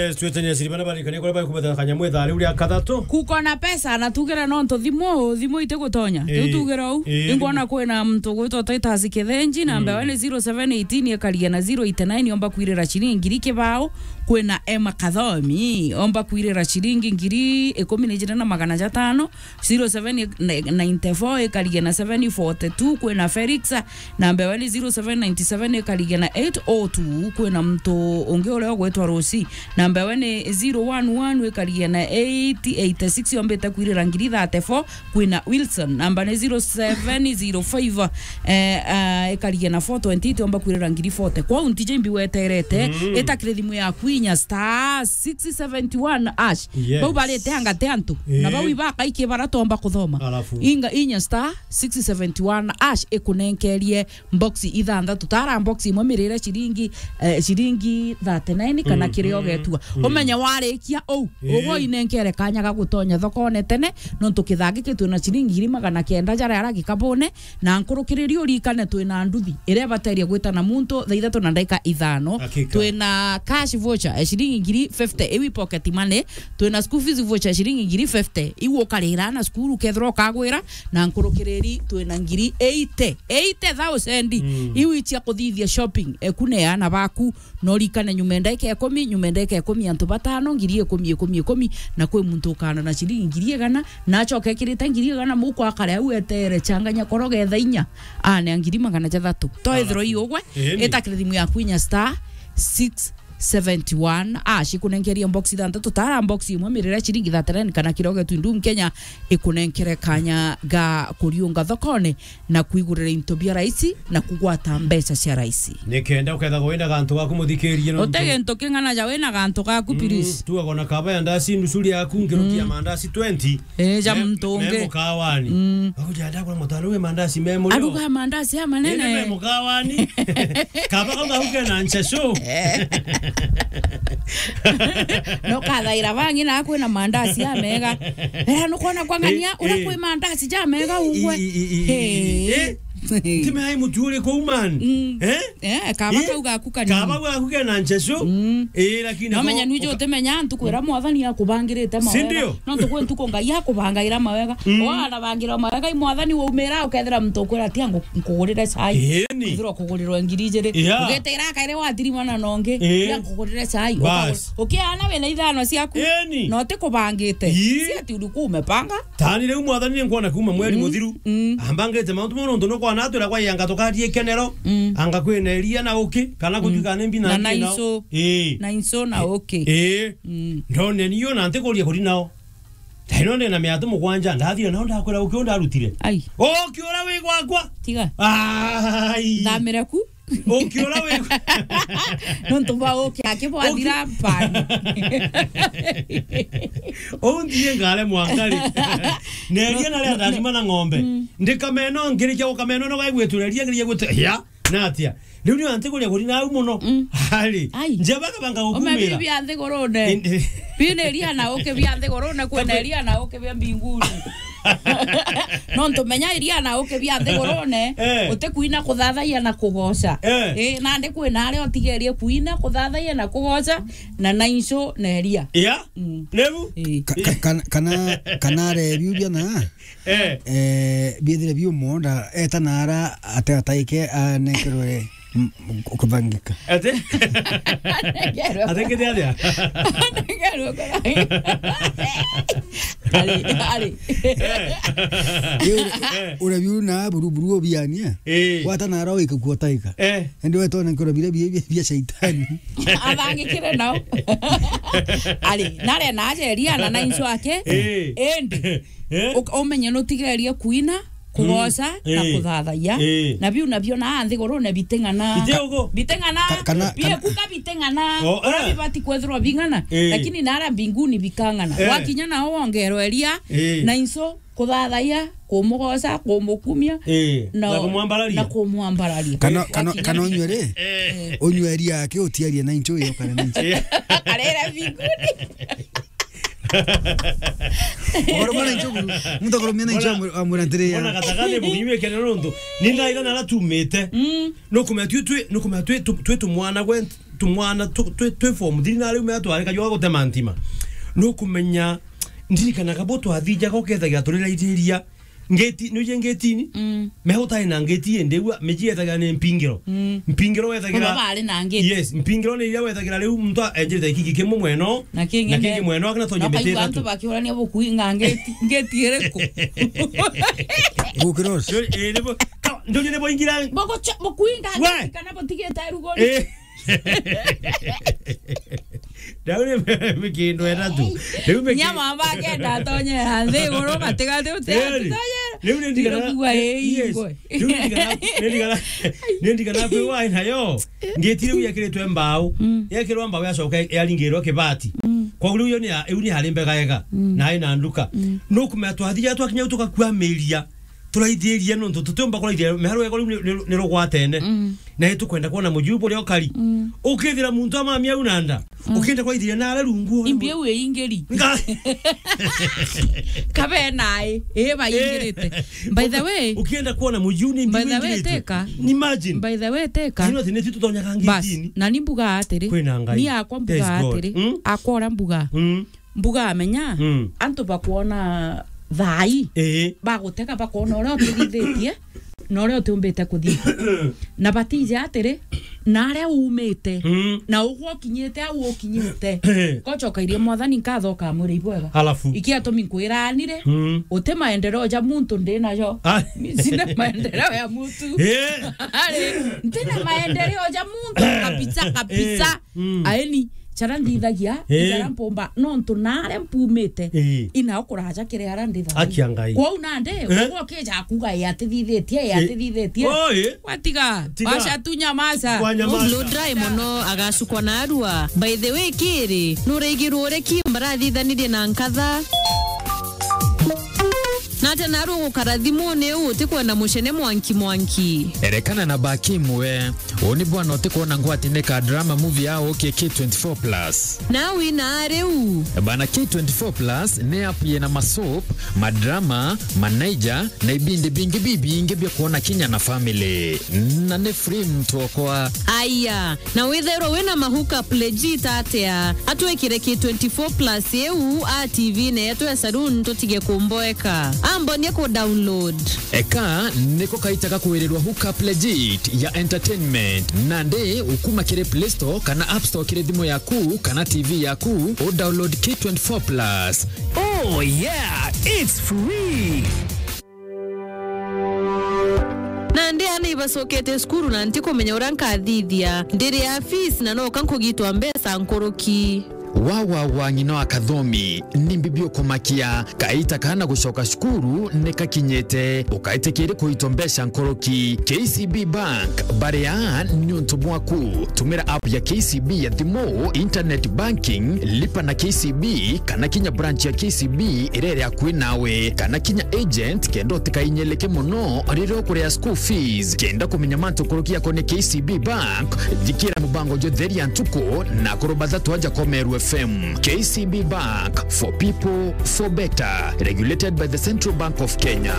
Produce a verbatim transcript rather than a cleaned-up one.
Yes, twetania siri bana barikania kuria bari kubetha kanyamu ithaa riu ria kathatu. Kuko na pesa na tugere no ntu thimu, thimu itigutonya. Riu tugere uu. Ingwona kwina muntu gwitwa Titus Kithenji, namba yawe ni zero seven eighteen ikaria na zero eight nine, omba kwirira ciringi ngiri kibao. Kwina Emma Kathomi, omba kwirira ciringi ngiri ikumi na ijiri na magana jatano. Zero seven ninety-four ikaria na seven forty-two, kwina Felix, namba yawe ni zero seven ninety-seven ikaria na eight oh two, kwina muntu ungi uria ugwitwa Rosi, namba yawe ni zero one one ikaria na eight eighty-six, yombite kwirira ngiri thirty-four, kwina Wilson, namba ni zero seven zero five, eh, eh, ikaria na four twenty-eight, omba kwirira ngiri forty. Kwou ntije imbi weterete, itakire thimu yaku inya star six seventy-one hash. Yes. Bau barite angate antu. Na bau ibakaikie bara tomba kuthoma. Alafu. Inga inya star six seventy-one hash ikunenkerie box ithanthatu. Tara box imwe mirire ciringi, eh, ciringi thirty-nine kana kiria ugetua. Umenye warikia uu, ugo inenkere kanya ga gutonya thokone tene, nontu kithangi kitwi na ciringi ngiri magana kenda jaria ara gikabune, na nkurukiriri urikane twina nduthi iria ibateria gwita na muntu thaa ithatu na ndaika ithano. Hakika. Twina cash voucher ya ciringi ngiri fifty, iu i pocket money. Twina school fees voucher ya ciringi ngiri fifty, iu ukarira na cukuru ukethirwa ukagwira, na nkurukiriri twina ngiri eighty, eighty thousand. Iu icia kuthithia shopping, eku ne ana baku. No rikane nyuma ndaika ikumi, nyuma ndaika ikumi antu batano, ngiri ikumi, ikumi, ikumi, na kwi muntu ukana na ciringi ngiri igana, na acoke ekirite ngiri igana muko akare au etere changanya koro getha inya, ane ngiri magana jathatu. To ethirwa iugwe, itakire thimu yaku inya star six seventy-one hash ikunenkeria box ithanthatu, tara box imwe mirire ciringi thirty-nine kana kiroge tu ndum Kenya ikunenkere kanya ga kuriunga thokone na kwigurira into bia raisi na kugwata mbeca cia raisi. Nikenda ukethagwa wina gantu gaku muthikirie no. Uti gintu king'ana ja wina gantu gaku, please. Tuagwa na kaba ya ndasi nusu riaku ngirukia mandasi twenty. Eh, ja muntu ungi. Me mukawani. Au ja ndagura mutano we mandasi me muri. Aruga mandasi ya manene. Ene me mukawani. Kaba kau gauke na nchesho. No kathaira bangi na kwina mandasi ya mega. Era nukwona kwa ng'ania ura kwi mandasi ja mega ugwe. Timehai mutu uri kuu man. Eh? Eh, kaba kau gaku kanini. Kaba gaku kena nchesho. Eh, lakini no menya nwije utimenya ntuku ira mwathani akubangirite mawega. Sindio? No ntuku ntuku Ngai akubangaira mawega. Wanabangira mawega i mwathani waumira ukethira muntu ukwira tia nkugurire chai. Eni. Kwithirwa kugurirwe ngiri ijiri. Ugetira akaire wathiri mwana nongi. Tia nkugurire chai. Ukiana wina ithano ciaku. Eni. No tikubangite. Si ati ulikuwa umepanga. Tani riu mwathani ni nkwona kuma mweri muthiru. Ambangite mauntu mau nontu nukwona atwira kwa yanga tukarie kenero. Anga kwina iria na uki, kana kutuika ni mbi na na ngi nao. Naiso. Ii. Naiso na uki. Ii. Ndone niyo na ntikuria kuri nao. Taino ndena miatu mugwanja, ndathire nao ndakwira uki undarutire. Ai. Uki ura wi gwakwa. Tiga. Ai. Nthamire ku. Ukiura wi nontu bwa uki akibwathira mpani. Uu nthie ngare mwankari. Neria naria ndathima na ng'ombe. Ndikameno ngirikia gukameno no gaigwitureria ngirikia gwitu ya natia. Riu ni antiguria kuri nau muno. Ari. Ai. Njaba kabanga gukumira. Umebibi anthigurune. Bine iria na uki bia nthigurune kwena iria na uki bia mbinguni. Nontu menya iria na uki bia nthigurune, eh, utikwina kuthathaia na kugoca. Eh. Eh, nandi kwina aria utigerie kwina kuthathaia na kugoca na naincu na iria. Ya? Mm. Riu? Eh. Ka-, ka-, kana, kana, kana arebiu bia na, eh, eh, biethire biu munda, eta na ara ate ataike anekerwe M-, m-, kubangika. Ate? Ate kete atia? Ari, ari. Eh. Ure, eh, ure biu na buru, buru obiania. Eh. Wata na aro ika kuotaika. Eh. Ende wetone nkoro bire bia, bia, bia shaitani. Abangikire nao. Ari, nare na aje Elia na naincu ake. Eh. Endi. Eh? Uka-, umenye nutigerie kuina, kugoca, na kuthathaia. Eh. Na biu nabio na nthigurune biting'ana. Bite ugu? Biting'ana. Ka-, kana, bie kana kuka biting'ana. Oh, eh. Ura bibati kwethirwa bing'ana. Eh. Lakini nara mbinguni bikang'ana. Eh. Wakinya nao wongerwe iria, eh, na inso, kuthathaia, kumugoca, kumukumia, eh, na, na kumwambararia. Na kumwambararia. Kana, kana, wakinya kana unywe ri? Eh. Unywe iria aki utiarie na incho iyo kana na incho. Eh. Arere mbinguni. Oro mwana incho buru. Muntu akorwo mwana incho amu-, amwira ntiri ya. Mbona gatakane muginywe kene nontu. Ni ndaiga na tumite. Mm. Nukumenya twi, twi, nukumenya twi tu-, twi tumwana gwe nt-, tumwana tu-, twi, twi form three na riu mea twarika jwa gutema ntima. Nukumenya, ndirikanaga bo twathijaga ukethagira turiraithiria ngeti, nuje ngetini? Mm. Meho utai na ngeti indi ua, miji yethagira ni mpingiro. Mm. Mpingiro wethagira. Baba bari na ngeti. Yes, mpingiro ni iria wethagira riu muntu enjirite gikigi kimwe mweno, na kingi mweno, akina tonye miti ithatu. Bakiurania bukuinga ngeti, ngeti iriku? Gukira ucio. Ndio, eh, nibo, ka-, ndio, ndio, nibo ingira. Bogo cha-, bukuinga ngeti kana butigite rugori? Eh. Ndau ni mikindu ithatu. Riu miki- Nyama bakenda atonye ya nthi iguru, matigati uti. Eri, atitonyera. Riu ni ndigana, Ndirukua, ii, yes. Ingwe. Riu ni ndigana, ni ndigana, ni ndigana kwi wai nayo. Ngeti riu yekiritwe mbau. Mm. Yekirwa mbau yacoka yaringirwa kibati. Mm. Koguo riu yo ni ya, iu ni hari mbega ega. Mm. Na ina nduka. Mm. Nukumenya twathija twakinya tukakua miria. Turaithiria nontu tutiumba kuraithiria miharo yego riu ni, ni, ni rugwatene. Mm. Na itukwenda kwona mujiu buria ukari. Mm. Ukithira muntu amamia au na nda. Mm. Ukienda kuraithiria na aria rungu. Imbi au iingiri. Nga- Kabe nae. Ii, baingirite. Eh. By the way, ukienda kwona mujiu ni imbi by the way, ingirite. Teka. Imagine. By the way, teka. Ino tene tutonyaga ngitini. Bas, na ni mbuga atiri. Kwina Ngai. Ni akwa mbuga atiri. There's God. Mm? Akwa ura mbuga. Mm. Mbuga amenya, mm, antu bakwona thaai, ii, bagutega bakwona uria utithithitie na uria utiumbite kuthithia. Na batije atiri, na aria uumite, mm, na ugwe ukinyite au ukinyite. Ii. Gocoka irie Mwathani nkatho ukamwira ibwega. Halafu? Iki atumi nkwira anire, mm, uti maendeleo ja muntu ndi najo. Ah. Mi sina maendeleo ya muntu. Ii. Ari, ntina maendeleo ja muntu kabisa, kabisa. Ii. Mm. Aeni, chara nthithagia, eh, chara mpomba, nontu naria mpumite, eh, inao kuraja kiri ara ndi thaai. Akia Ngai. Kwou nandi, eh, ugwe ukija kuga, "Ii atithithitie, ii, eh, atithithitie." Oh, eh. Watiga, tiga, wacha tu nyamaza. Wanyamaza. Blow dry mono, agacukwa na arua. By the way, kiri, nuraigirwe uria Kim barathithanirie na nkatha? Na ati naru gukara thimuni uu utikwenda mucene mwanki mwanki? Erekana na Bakim we. Uu ni bwana utikwona ngwati ni ka drama movie ya uki K twenty-four plus. Na wina riu. Bana, K twenty-four plus ni app yina masoap, madrama, manaija, na ibindi bingi bibingi bia kwona kinya na family. Na ni free mtu okwa. Aya, na withairwa wina ma hookup legit atia? Atwikire K twenty-four plus iu a T V-ini yetu ya saloon tutige kumboeka. Ambonie ku download. Eka niko kaita ga kwirirwa hookup legit ya entertainment. Nandi ukuma kiri Play Store kana App Store kiri thimu yaku kana T V yaku, u download K twenty-four plus. Oh yeah, it's free. Nandi aana ibacokete cukuru na ntikumenya uria nkathithia. Ndiri a fees na noka nkugitwa mbeca nkuruki. Wa, wa, wa, ng'ina wa Kathomi, ni mbi biukumakia. Kaita kana gucoka cukuru ni kakinyite. Ukaitikiria kuitwa mbeca nkuruki. K C B Bank, bari aa niuntu bwaku. Tumira app ya K C B ya thimu, internet banking, lipa na K C B, kana kinya branch ya K C B iria iri akui nawe, kana kinya agent, kenda utikainyeleke mono riria ukuria school fees. Kenda kumenya mantu nkuruki yakonie K C B Bank, thikira mubango jwa Theria Ntuku na Akuru Bathatu aja kwa Meru F M. K C B Bank, for people, for better. Regulated by the Central Bank of Kenya.